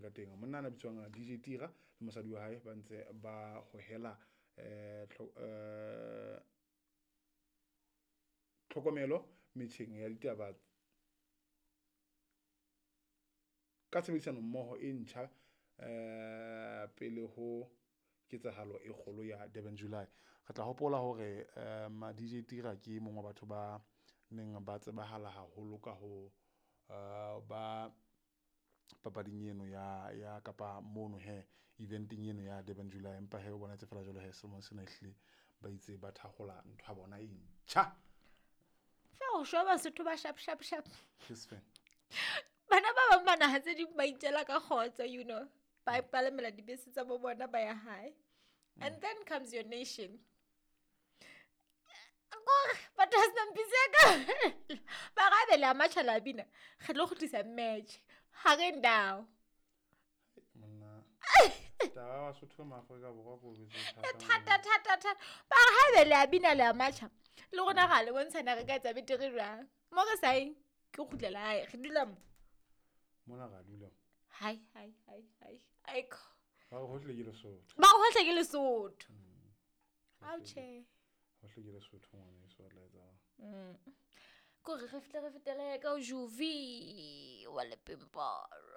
ka teng. Monna ana bitswang DJ Tira le mosadi wa hae ba ntse ba hohela tlhokomelo metjheng ya ditaba ka tshebedisano mmoho e ntjha pele ho ketsahalo e kgolo ya Durban July. Re tla hopola hore DJ Tira ke mong wa batho ba neng ba tsebahala haholo ka ho ba papading eno ya kapa mono he eventeng eno ya Durban July, empa he o bonahetse fela jwalo he selemong sena ehlile ba itse ba thakgola ntho ya bona e ntjha. Fa o shwa Basotho ba sharp sharp sharp. Ke sefeng? Bana ba bang ba naha tse ding ba itjela ka kgotso, you know. Ba palamela dibese tsa bo bona ba ya hae. And then comes your nation. Kore batho ba senang bese ya ka. Ba re haebe le a matjha la bina, re tlo kgutlisa match. Ha re ndao. Monna. Taba ya Basotho ma Afrika Borwa ko bese E thata thata thata. Ba re haebe le a bina le a matjha, le rona ra le bontshana re ka etsa betere jwang. Mo re sa yeng, ke kgutlela hae, re dula mo. Mona ra dula. Hai hai hai hai. Aiko. Ba re hohle ke Lesotho. Ba re hohle ke Lesotho. Ao tjhe. Hohle ke Lesotho ngwaneso wa tla etsa. Kore re fihle re fetele ka o Juvi wa Lepimporo.